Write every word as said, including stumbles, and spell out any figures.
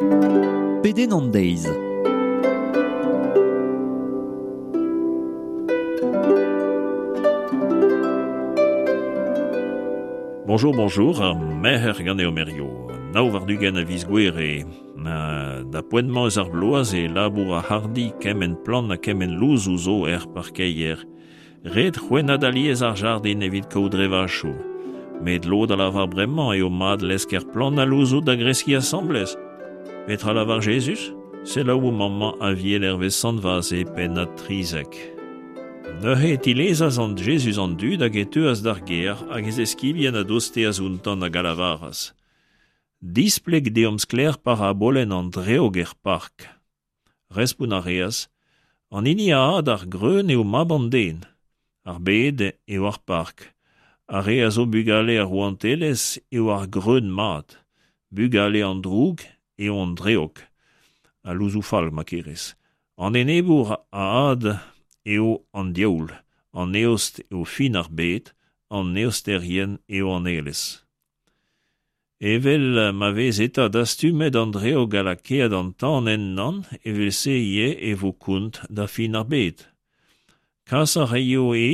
Pedenn an deiz. Bonjour, bonjour, ar merc'her ganeomp hirio. Nav war-ugent a viz Gouere. Da poent-mañ eus ar bloaz e labour ar hardi kement plant ha kement louzoù zo er parkeier. Ret c'hwennat alies ar jardin evit kaout drevachoù. Met lod a lavar bremañ eo mat lesker plant ha louzoù da greskiñ asambles. Petra lavar Jezuz? Selaou mañ Aviel hervez Sant Vaze pennad trizek. Neuze e tilezas an Jezuz an dud hag e teuas d'ar gêr hag e zeskibien a dosteas outañ hag a lavaras. Displeg deomp sklaer parabolenn an dreog er park. Respont a reas, an hini a had ar greun eo mab an den. Ar bed eo ar park. Ar re a zo bugale ar rouantelezh eo ar greun mat. Bugale an droug eo an dreog. Al louzoù fall, ma kerez. An enebour a had eo an diaoul, an eost eo fin ar bed, an eosterien eo an aelez. Evel ma vez eta dastumet an dreog ha lakaet an tan ennañ, evel-se ivez e vo kont da fin ar bed. Kas a raio e